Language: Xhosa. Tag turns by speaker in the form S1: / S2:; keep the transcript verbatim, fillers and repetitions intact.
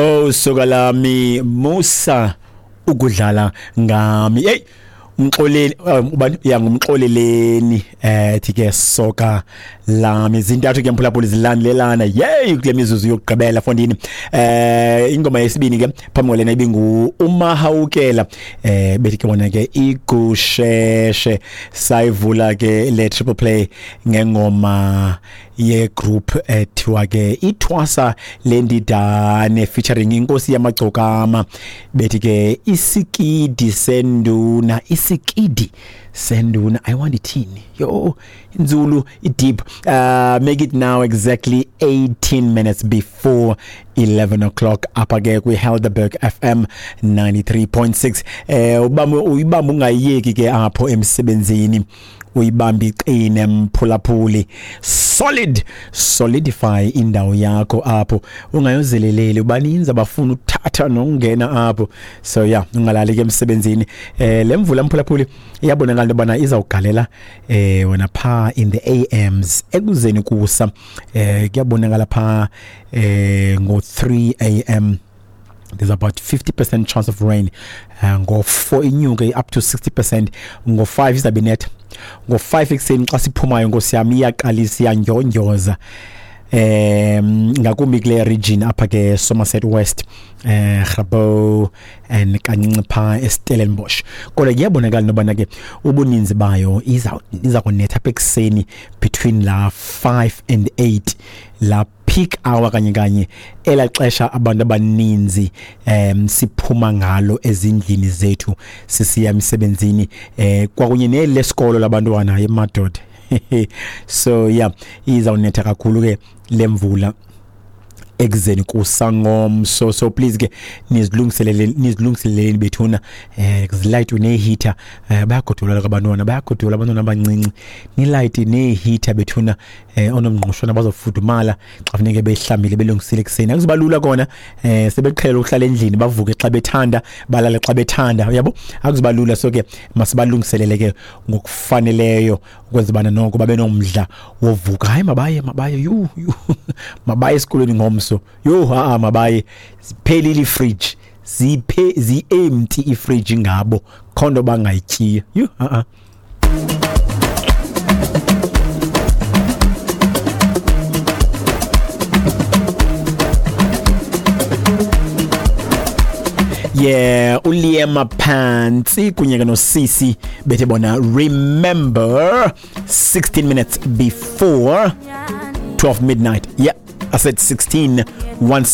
S1: Oh soka lami musa ukudlala ngami. Hey, umxoleli ubani ya ngumxoleleni eh thi ke soka lami zintathu ke mphulaphula zilandelelana yey kule mizuzu yokugqibela fondini. Eh ingoma yesibini ke phambi kwalena ibingu uMahawukela eh bethi ke bona ke igusheshe sayivula ke le triple play ngengoma ye group ethiwa ke ithwasa lendidane featuring inkosi yamagcokama bethi ke isikidi senduna isikidi senduna. I want ithini yo inzulu deep. Uh make it now exactly eighteen minutes before eleven o'clock apha ke kwi Helderberg F M ninety-three point six. Eh ubamba uyibamba ungayiyeki ke apho emsebenzini, uyibamba iqine mphulaphuli, solid solidify indawo yakho apho, ungayozeleleli baninzi abafuna ukuthatha nokungena apho. So yeah, ungalali ke emsebenzini. Eh lemvula mphulaphuli iyabonakala into bana izawugalela eh wena pha in the A Ms ekuzeni kusa. Eh kuyabonakala pha eh ngo three A M there's about fifty percent chance of rain. Uh, ngo four inyuke up to sixty percent. Ngo five izabe net. Ngo five ekuseni xa siphumayo nkosi yami iyaqalisa iyandyondyoza em ngakumbi kule region apha ke Somerset West, eh Grabouw and kancinci pha eStellenbosch. Kodwa kuyabonakala nobana ke ubuninzi bayo iza iza kunetha apha ekuseni between la five and eight, la peak hour kanye kanye elaxesha abantu abaninzi em siphuma ngalo ezindlini zethu sisiya emsebenzini eh kwakunye nelesikolo labantwana emadoda. So yeah, izawunetha kakhulu ke lemvula ekuzeni kusangomso. So please ke nizilungiselele nizilungiseleleni bethuna eh kuzilayitwe neheater. Eh bayagodola abantwana bayagodola abantwana abancinci, nilayite neheater bethuna eh onomngqushwana bazofudumala xa funeke behlambile belungisile ekseni. Akuzuba lula kona eh sebeqhela ukuhlala endlini bavuke xa bethanda balale xa bethanda, uyabo, akuzuba lula. So ke masibalungiselele ke ngokufaneleyo ukwenza bana noko babe nomdla wovuka. Hayi mabaye mabaye yu yu mabaye esikolweni ngomso. Yo ha mabaye siphelile ifridge, ziphe zi empty ifridge ngabo khondo bangayityiya. Yo ha. Yeah, uLiema Pantsi kunye ke noSisi bethe bona remember sixteen minutes before twelve midnight. Yeah, I said sixteen one